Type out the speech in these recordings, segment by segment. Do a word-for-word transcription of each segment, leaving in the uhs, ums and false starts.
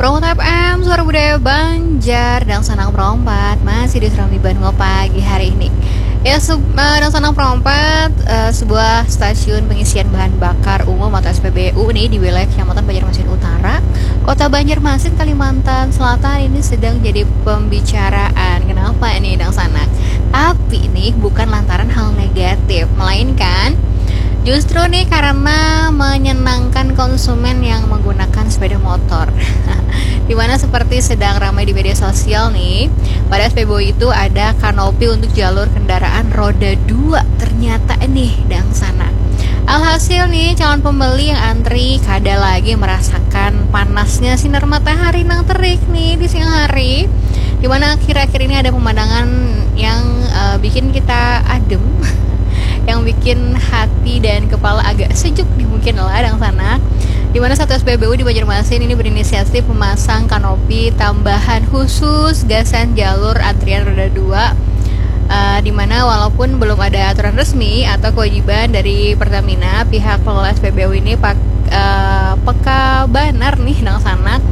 Pro F M, Suara Budaya Banjar, Dangsanang Pro empat, masih di Serambi Banua pagi hari ini. Ya, sub, uh, Dangsanang Pro empat, uh, sebuah stasiun pengisian bahan bakar umum atau S P B U nih di wilayah Kecamatan Banjarmasin Utara, Kota Banjarmasin, Kalimantan Selatan ini sedang jadi pembicaraan. Kenapa ini, Dangsanang? Tapi nih bukan lantaran hal negatif, melainkan justru nih karena menyenangkan konsumen yang menggunakan sepeda motor. Dimana seperti sedang ramai di media sosial nih, pada S P B U itu ada kanopi untuk jalur kendaraan roda dua ternyata nih, Dangsanang. Alhasil nih, calon pembeli yang antri kada lagi merasakan panasnya sinar matahari nang terik nih di siang hari. Dimana akhir-akhir ini ada pemandangan yang uh, bikin kita adem, yang bikin hati dan kepala agak sejuk nih mungkin lah, Dangsanang. Dimana satu S P B U di Banjarmasin ini berinisiatif memasang kanopi tambahan khusus gasan jalur antrian roda dua, uh, dimana walaupun belum ada aturan resmi atau kewajiban dari Pertamina, pihak pengelola S P B U ini pak, uh, peka banar nih, Dangsanang,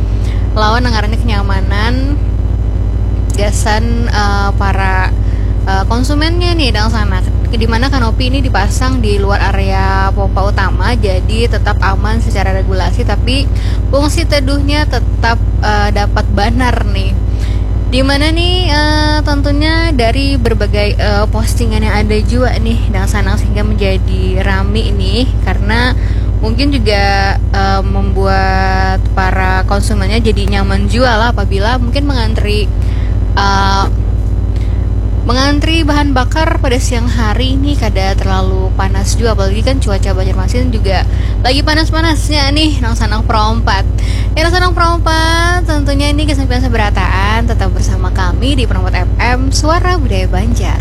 lawan nang ngarannya kenyamanan gasan uh, para uh, konsumennya nih, Dangsanang. Di mana kanopi ini dipasang di luar area pompa utama, jadi tetap aman secara regulasi, tapi fungsi teduhnya tetap uh, dapat banar nih. Dimana nih uh, tentunya dari berbagai uh, postingan yang ada juga nih, Dangsanang, sehingga menjadi rame nih karena mungkin juga uh, membuat para konsumennya jadi nyaman juga lah apabila mungkin mengantri uh, mengantri bahan bakar pada siang hari ini kada terlalu panas juga, apalagi kan cuaca Banjarmasin juga lagi panas-panasnya nih, Dangsanang Pro empat. Ya, Dangsanang Pro empat, tentunya ini kesempian seberataan, tetap bersama kami di Pro empat F M, Suara Budaya Banjar.